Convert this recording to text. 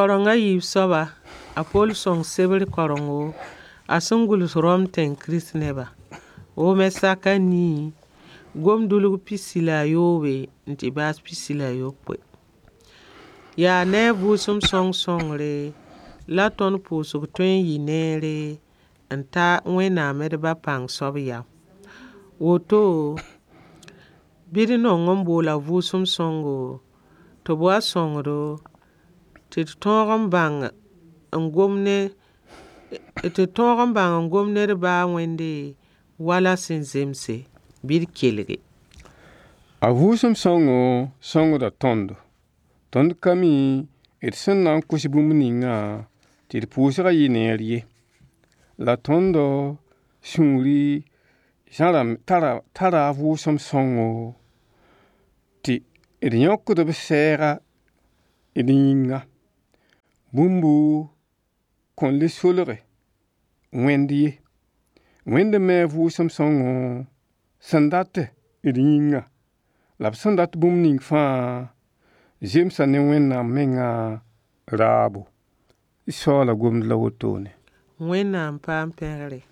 Kareng a yiib soaba, a Poll sõng sebr karengo a sẽn gʋls Rom tẽng Kirist neba. Wʋmɛ sak a nii, gom-dʋlg pisi la a yoobe n tɩ baas pisi la a yopoe. Yaa ne a vʋʋsem sõng sõngre la tõnd pʋʋsg tõe n yɩ neere n ta Wẽnnaam d Ba pãng soab yam. Woto, bɩ d nong n bool a vʋʋsem sõngo tɩ b wa sõng-do tɩ d tõog n bãng n gom ne tɩ d tõog n bãng n gom ne d baa Wẽnde wala sẽn zemse. Bɩ d kelge. A vʋʋsem sõngo sõngda tõndo. Tõnd ka mi d sẽn na n kos bũmb ninga tɩ d pʋʋsgã yɩ neer ye. La tõndo sũuri zãra tara a vʋʋsem sõngo tɩ d yõkd b sɛɛga d yĩnga. Bũmbu kõn le solge Wẽnd ye. Wẽnd me a vʋʋsem sõngo sẽn dat d yĩnga la b sẽn dat bũmb ning fãa zemsa ne Wẽnnaam menga raabo. D soaala gomd la wotone. Wẽnnaam paam pẽgre.